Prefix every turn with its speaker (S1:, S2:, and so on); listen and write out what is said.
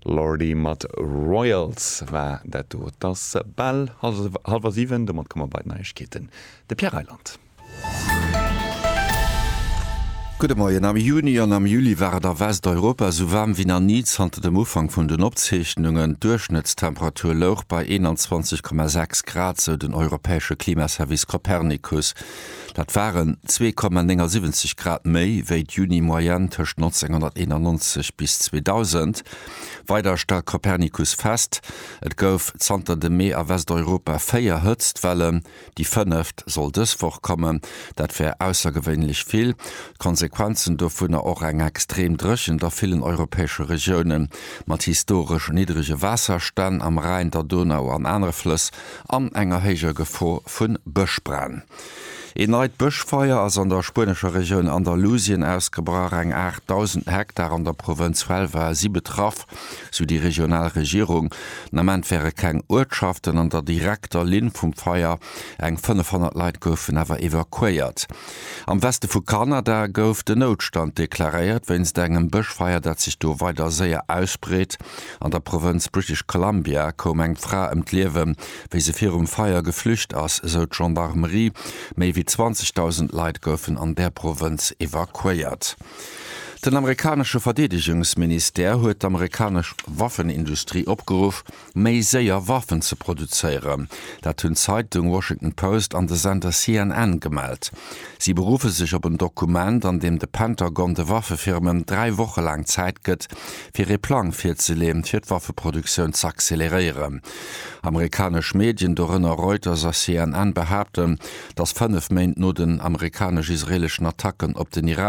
S1: Lordi mat Royals war dat do. Et ass bal hallwer 7, domat komme mer bei d'Neiegkeeten. De Pierre Reyland.
S2: Gudde Moien. Am Juni an am Juli war et a Westeuropa esou waarm wéi nach ni zanter dem Ufank vun den Opzeechnungen. D'Duerchschnëttstemperatur louch bei 21,6 Grad, sou den europäesche Klimaservice Copernicus. Dat waren 2,79 Grad méi wéi d'Juni-Moyenne tëscht 1991 bis 2000. Weider stellt Copernicus fest, et gouf zanter dem Mee a Westeuropa 4 Hëtztwellen, déi fënneft soll dës Woch kommen. Dat wär aussergewéinlech vill. D'Konsequenzen dovunner och eng extrem Dréchent a villen europäesche Regioune mat historesch niddrege Waasserstänn am Rhäin, der Donau an anere Flëss an enger héijer Gefor vu Bëschbränn. Een neit Bëschfeier ass an der spuenescher Regioun Andalusien ausgebrach. Eng 8.000 Hektar an der Provënz Huelva si betraff, sou déi regional Regierung. Den Ament wäre keng Uertschaften an der direkter Linn vum Feier. Eng 500 Leit goufen awer evakuéiert. Am Weste vu Kanada gouf den Noutstand deklaréiert wéinst engem Bëschfeier, dat sech do weider séier ausbreet. An der Provënz British Columbia koum eng Fra ëm d'Liewen, wéi se virum Feier geflücht ass, esou d'Gendarmerie. Méi wéi 20.000 Leit goufen an där Provënz evakuéiert. Den amerikanesche Verdeedegungsministère huet d'amerikanesch Waffenindustrie opgeruff, méi séier Waffen ze produzéieren. Dat hunn d'Zeitung Washington Post an de Sender CNN gemellt. Si beruffe sech op en Dokument, an deem de Pentagon de Waffefirmen 3 Woche laang Zäit gëtt, fir ee Plang virzeleeën, fir d'Waffeproduktioun z'acceleréieren. Amerikanesch Medien, dorënner Reuters a CNN, behaapten, datt 5 Méint no den amerikanesch-israeeleschen Attacken op den Iran.